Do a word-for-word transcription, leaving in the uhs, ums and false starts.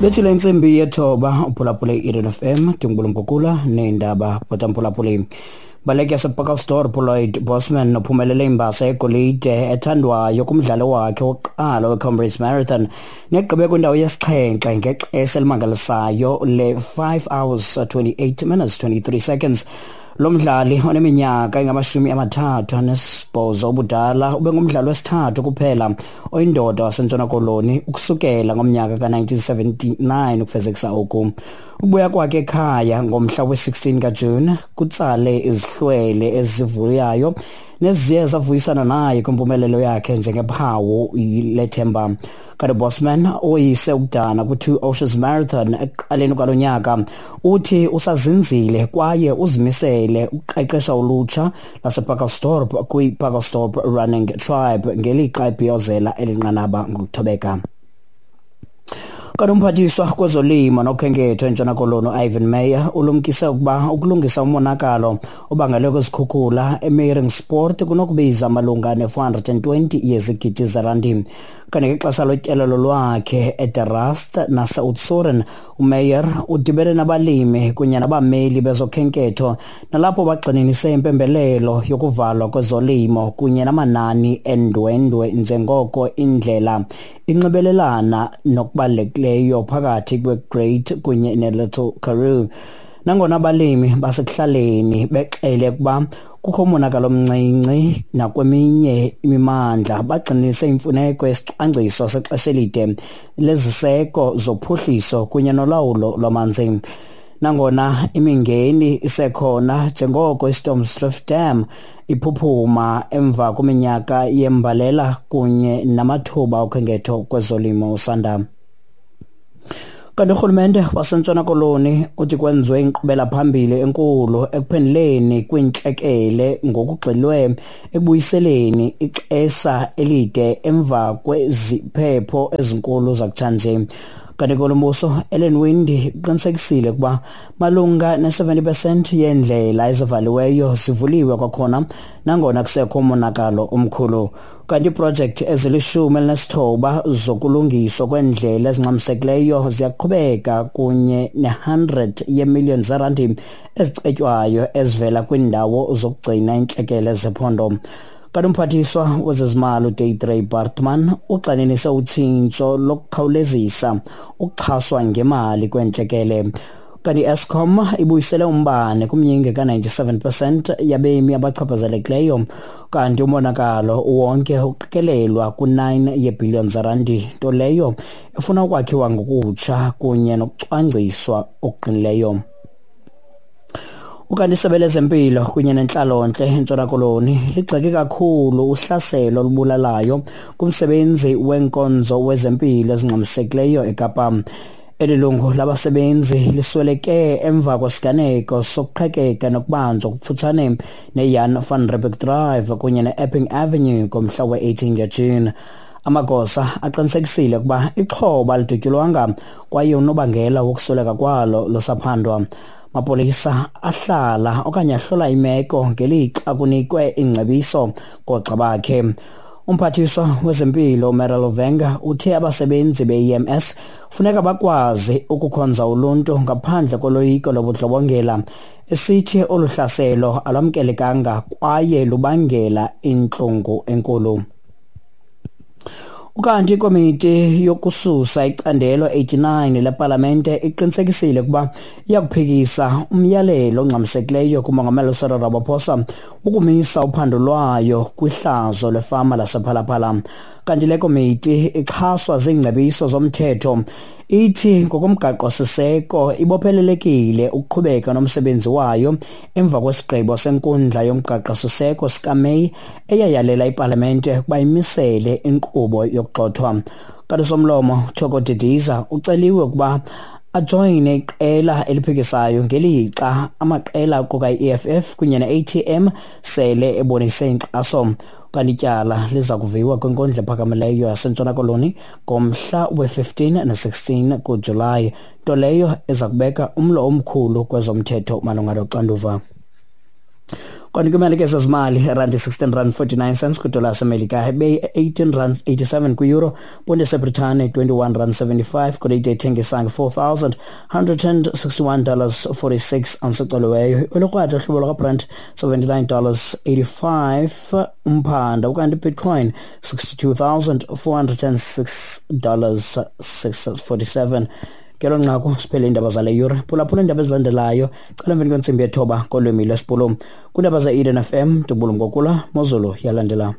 Bethile intsimbi yethoba, uphulaphule i-Eden F M, ndingubulumkukula neendaba bhotamphulaphuli. Baleki yasePacaltsdorp uLloyd Bosman uphumelele imbasa yegolide ethandwayo kumdlalo wakhe wokuqala weComrades Marathon negqibe kwindawo yesixhenxe ngexesha elimangalisayo le-five hours twenty-eight minutes twenty-three seconds. Lo mdlali oneminyaka engamashumi amathathu anesibhozo ubudala ube ngumdlali wesithathu kuphela oyindoda waseNtshona Koloni ukusukela ngomnyaka ka-nineteen seventy-nine ukufezekisa oku. Ukubuya kwakhe ekhaya ngomhla we-sixteen kaJuni kutsale izihlwele ezivuyayo neziye zavuyisana naye kwimpumelelo yakhe njengephawu lethemba. Kanti Bosman, oyise ukudana kwi-Two Oceans Marathon ekuqaleni kwalo nyaka, uthi usazinzile kwaye uzimisele ukuqeqesha ulutsha lasePacaltsdorp kwi-Pacaltsdorp Running Tribe ngelixa ebhiyozela eli nqanaba ngokuthobeka. Kanti umphathiswa kwezolimo nokhenketho eNtshona Koloni uIvan Meyer ulumkise ukuba ukulungisa umonakalo obangelwe kwizikhukhula eMeiringspoort kunokubiza malunga ne-four hundred and twenty yezigidi zerandi. Kanti ngexesha lotyelelo lwakhe eDe Rust naseOudtshoorn, uMeyer udibene nabalimi kunye nabameli bezokhenketho, nalapho bagxininise impembelelo yokuvalwa kwezolimo kunye namanani endwendwe njengoko indlela inxibelelana nokubalulekileyo phakathi kwe-Great kunye ne-Little Karoo. Nangona abalimi basekuhlaleni bexele ukuba kukho umonakalo omncinci nakweminye imimandla, bagxininise imfuneko yesicwangciso sexesha elide leziseko zophuhliso kunye nolawulo lwamanzi. Nangona imingeni isekhona njengoko iStormsdrift Dam iphuphuma emva kweminyaka yembalela kunye namathuba okhenketho kwezolimo usanda. Kanti urhulumente waseNtshona Koloni uthi kwenziwe inkqubela phambili enkulu ekuphenduleni kwiintlekele ngokugxilwe ekubuyiseleni ixesha elide emva kweziphepho ezinkulu zakutshanje. Kanti kolombuso Ellen Winde uqinisekisile ukuba malunga ne-seventy percent yeendlela ezivaliweyo zivuliwe kwakhona nangona kusekho umonakalo omkhulu. Kanti iiprojekthi ezilishumi elinesithoba zokulungiswa kweendlela ezingxamisekileyo ziyaqhubeka kunye ne-hundred yeemiliyoni zerandi ezicetywayo ezivela kwiindawo zokugcina intlekele zephondo. Kanti umphathiswa wezezimali uDeidre Baartman ugxininise utshintsho lokukhawulezisa ukuxhaswa ngemali kweentlekele. Kanti i-Eskom ibuyisele umbane kumyinge ka-ninety-seven percent yabemi abachaphazelekileyo, kanti umonakalo wonke uqikelelwa ku-nine yeebhiliyoni zerandi, nto leyo efuna ukwakhiwa ngokutsha kunye nokucwangciswa okuqinileyo. Ukanti isebe lezempilo kunye nentlalontle eNtshona Koloni ligxeke kakhulu uhlaselo olubulalayo kumsebenzi wenkonzo wezempilo ezingxamisekileyo eKapa. Eli lungu labasebenzi lisweleke emva kwesiganeko sokuqhekeka nokubanjwa kufutshane neJan van Riebeeck Drive kunye ne-Epping Avenue ngomhla we-eighteen kaJuni. Amagosa aqinisekisile ukuba ixhoba lidutyulwanga kwaye unobangela wokusweleka kwalo lusaphandwa. Mapolisa ahlala okanye ahlola imeko ngelixa kunikwe ingcebiso koogxa bakhe. Umphathiswa wezempilo uMerelo Venga uthe abasebenzi be-E M S funeka bakwazi ukukhonza uluntu ngaphandle koloyiko lobundlobongela, esithi olu hlaselo alwamkelekanga kwaye lubangela intlungu enkulu. Ukanti ikomiti yokususa icandelo eighty-nine lepalamente iqinisekisile ukuba iyakuphikisa umyalelo ongxamisekileyo kumongameli uCyril Ramaphosa ukumisa uphando lwayo kwihlazo lefama lasePhalaphala. Kanti le komiti ixhaswa ziingcebiso zomthetho ithi ngokomgaqo-siseko ibophelelekile ukuqhubeka nomsebenzi wayo emva kwesigqibo senkundla yomgaqo-siseko sikaMeyi eyayalela ipalamente ukuba imisele inkqubo yokugxothwa. Kanti somlomo Thoko Didiza uceliwe ukuba ajoyine iqela eliphikisayo ngelixa amaqela aquka i-E F F kunye ne-A T M sele ebonise inkxaso. Kanti ityala liza kuviwa kwinkundla ephakamileyo yaseNtshona Koloni ngomhla we-fifteen ne-sixteen kuJulayi, nto leyo eza kubeka umlo omkhulu kwezomthetho malunga noxanduva. Kanti kwimali ke zezimali, irandi sixteen rand forty-nine cents kwidola yaseMelika, ibe eighteen rand eighty-seven kwi-euro, ponde yaseBritane twenty-one rand seventy-five, golide ithengisa nge-four thousand one hundred sixty-one dollars forty-six ounce ecoliweyo. Olukrwada uhlobo lwakaBrent seventy-nine dollars eighty-five umphanda, ukanti Bitcoin sixty-two thousand four hundred six dollars six forty-seven. Ngelo nqaku siphele iindaba zale yure. Phulaphula iindaba ezilandelayo cala emveni kwentsimbi yethoba ngolwimi lwesiBhulu kwiindaba ze-Eden F M. Ndibulumkokula mozulu yalandela.